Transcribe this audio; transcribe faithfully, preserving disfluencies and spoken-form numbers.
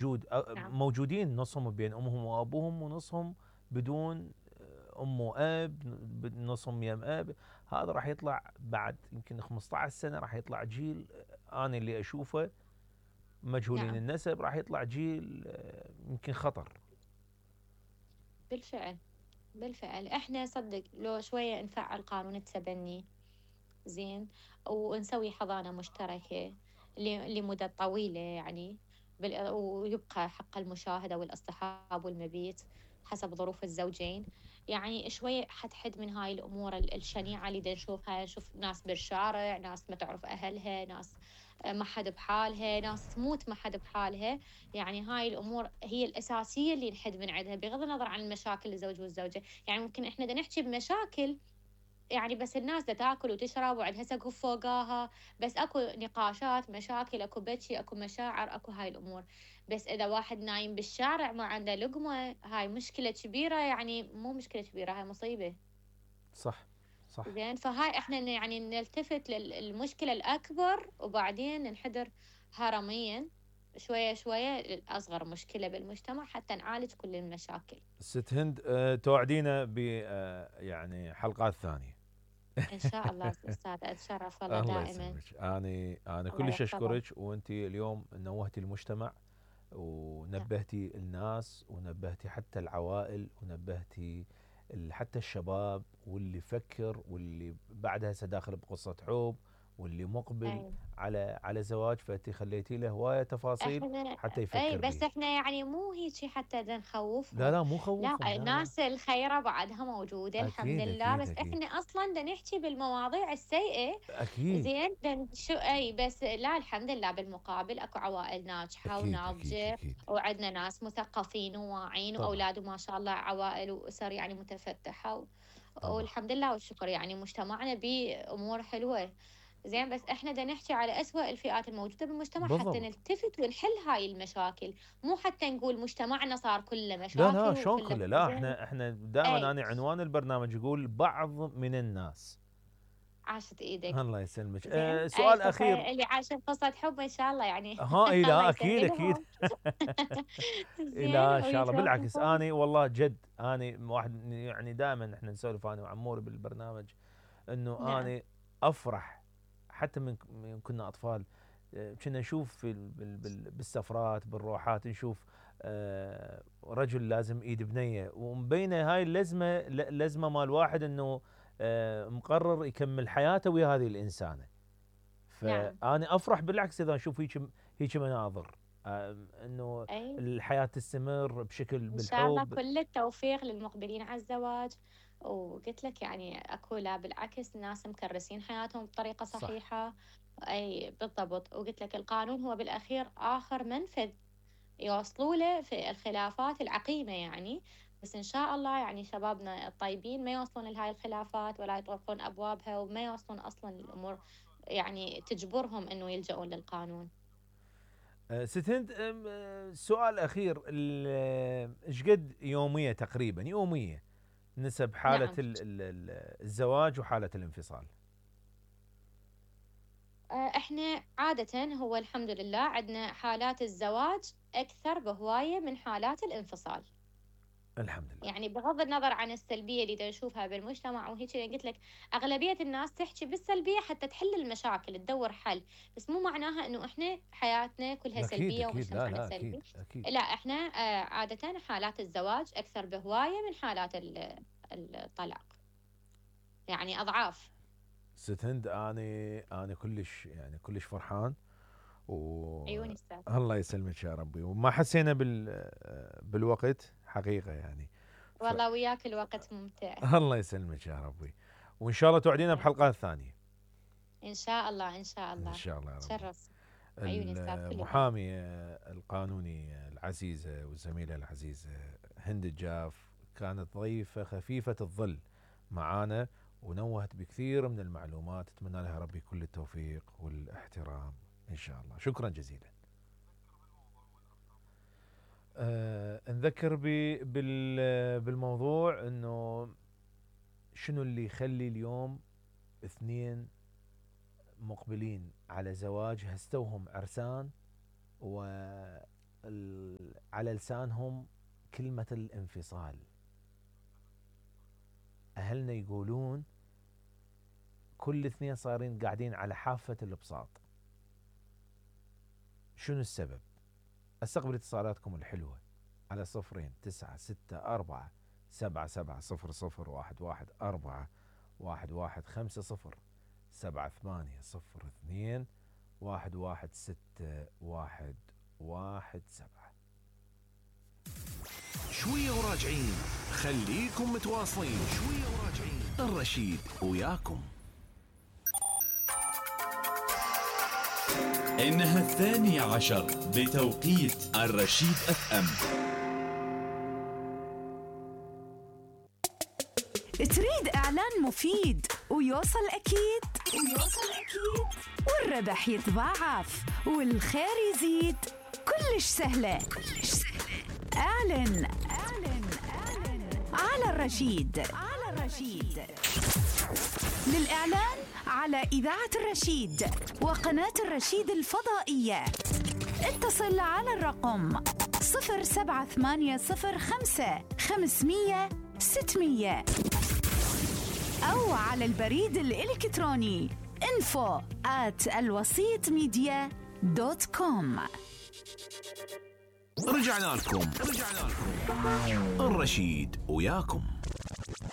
موجود نعم. موجودين نصهم بين امهم وابوهم ونصهم بدون ام واب، نصهم يم اب. هذا راح يطلع بعد يمكن خمسة عشر سنه، راح يطلع جيل انا اللي اشوفه مجهولين نعم النسب، راح يطلع جيل يمكن خطر. بالفعل. بالفعل احنا صدق لو شوية نفعل قانون التبني زين، ونسوي حضانة مشتركة ل- لمدة طويلة يعني، بال- ويبقى حق المشاهدة والاصطحاب والمبيت حسب ظروف الزوجين. يعني شوية حتحد من هاي الأمور ال- الشنيعة اللي دا نشوفها، نشوف ناس بالشارع، ناس ما تعرف أهلها، ناس آه، ما حد بحالها، ناس تموت ما حد بحالها. يعني هاي الأمور هي الأساسية اللي نحد من عندها، بغض النظر عن المشاكل الزوج والزوجة. يعني ممكن إحنا دا نحكي بمشاكل يعني، بس الناس دا تاكل وتشرب وعندها سقف فوقاها، بس اكو نقاشات، مشاكل، اكو بكي، اكو مشاعر، اكو هاي الامور. بس اذا واحد نايم بالشارع ما عنده لقمة، هاي مشكلة كبيرة، يعني مو مشكلة كبيرة، هاي مصيبة. صح صح. زين، فهاي احنا يعني نلتفت للمشكلة الاكبر وبعدين ننحدر هرميا شوية شوية للأصغر مشكلة بالمجتمع حتى نعالج كل المشاكل. ست هند، أه توعدينا ب أه يعني حلقات ثانيه. إن شاء الله أستاذ، أتشرف والله الله دائما. يسلمك. انا انا الله كلش يحفظك. اشكرك، وانت اليوم نوهتي المجتمع نعم. ونبهتي الناس ونبهتي حتى العوائل ونبهتي حتى الشباب، واللي يفكر واللي بعدها سداخل بقصة حب واللي مقبل أي. على على زواج، فانت خليتي له هوايه تفاصيل احنا حتى اي يفكر بس بيه. احنا يعني مو هيجي حتى بدنا لا نخوفهم. لا مو لا، خوفهم، لا لا. الناس الخيرة بعدها موجودة الحمد اكيد لله، اكيد بس اكيد احنا اصلا بدنا نحكي بالمواضيع السيئة. اكيد زين، بدنا شو اي بس لا الحمد لله بالمقابل اكو عوائل ناجحة اكيد اكيد وناضجة، اكيد. وعندنا ناس مثقفين وواعين طبعا واولاد ما شاء الله عوائل واسر يعني متفتحة و... طبعا. والحمد لله والشكر، يعني مجتمعنا بأمور حلوة. زين، بس احنا بدنا نحكي على أسوأ الفئات الموجودة بالمجتمع حتى بالضبط. نلتفت ونحل هاي المشاكل. مو حتى نقول مجتمعنا صار كله لا لا مشاكل شلون وكله كله، مو لا زين. احنا احنا دائما اي. انا عنوان البرنامج يقول بعض من الناس. عاشت ايدك. الله يسلمك. زين، أه اي سؤال خص اخير. اللي عاشوا قصة حب ان شاء الله يعني. ها اي الله لا اكيد اكيد. يسهلهم. إيه زين لا ان شاء الله، بالعكس ويتوفقون. اني والله جد اني واحد يعني دائما احنا نسولف انا وعموري بالبرنامج انه نعم. اني افرح حتى من من كنا اطفال. آه، كنا نشوف في ال- بال- بال- بالسفرات بالروحات نشوف آه، رجل لازم ايد بنيه، ومبينه هاي اللزمه ل- لزمه مال واحد انه آه، مقرر يكمل حياته ويا هذه الانسانه. نعم. فأنا أفرح بالعكس إذا أشوف هيك هيك مناظر، آم، إنه اي. الحياة تستمر بشكل ان شاء الله بالحب. كل التوفيق للمقبلين على الزواج. وقلت لك يعني اكو لا بالعكس ناس مكرسين حياتهم بطريقة صح. صحيحة. اي بالضبط، وقلت لك القانون هو بالاخير اخر منفذ يوصلوا له في الخلافات العقيمة يعني. بس إن شاء الله يعني شبابنا الطيبين ما يوصلون لهاي الخلافات ولا يطرقون أبوابها، وما يوصلون أصلا الأمور يعني تجبرهم إنه يلجؤون للقانون. آه، ست هند، آم، آه، سؤال أخير. ال- آه، إيش قد يومية تقريبا يومية نسب حالة نعم. ال- ال- ال- الزواج وحالة الانفصال؟ آه، إحنا عادة هو الحمد لله عندنا حالات الزواج أكثر بهواية من حالات الانفصال. الحمد لله. يعني بغض النظر عن السلبية اللي دا نشوفها بالمجتمع وهيك، يعني قلت لك أغلبية الناس تحكي بالسلبية حتى تحل المشاكل تدور حل، بس مو معناها إنه إحنا حياتنا كلها أكيد سلبية أكيد، لا ومجتمعنا لا أكيد سلبي. أكيد. لا، إحنا آه، عادة حالات الزواج أكثر بهواية من حالات ال- الطلاق، يعني أضعاف. ست هند، أنا أنا كلش يعني كلش فرحان، عيوني السادة. والله يسلمك يا ربي، وما حسينا بال بالوقت حقيقة يعني. ف والله وياك الوقت ممتع. الله يسلمك يا ربي، وإن شاء الله توعدينا الله بحلقات يسلمك. ثانية. إن شاء الله إن شاء إن الله. شاء الله يا ربي. تشرف. عيوني السادة كل الذوق. المحامية القانونية العزيزة والزميلة العزيزة هند الجاف كانت ضيفة خفيفة الظل معانا، ونوهت بكثير من المعلومات. اتمنى لها ربي كل التوفيق والاحترام ان شاء الله. شكرا جزيلا. أه نذكر بال بالموضوع انه شنو اللي يخلي اليوم اثنين مقبلين على زواج هستوهم عرسان و على لسانهم كلمة الانفصال. أهلنا يقولون كل اثنين صارين قاعدين على حافة البساط. شنو السبب؟ استقبل اتصالاتكم الحلوة على صفرين تسعة ستة أربعة سبعة سبعة صفر صفر واحد واحد أربعة واحد واحد خمسة صفر سبعة ثمانية صفر اثنين واحد واحد ستة واحد واحد سبعة. شوية وراجعين، خليكم متواصلين. شوية وراجعين، الرشيد وياكم. إنها الثانية عشر بتوقيت الرشيد اف ام. تريد إعلان مفيد ويوصل أكيد ويوصل أكيد والربح يتضاعف والخير يزيد؟ كلش سهلة كلش سهلة. اعلن اعلن اعلن على الرشيد على الرشيد. للإعلان على إذاعة الرشيد وقناة الرشيد الفضائية اتصل على الرقم صفر سبعة ثمانية صفر خمسة خمسمية ستمية أو على البريد الإلكتروني info at الوسيط ميديا دوت كوم. رجعنا لكم رجعنا لكم الرشيد وياكم.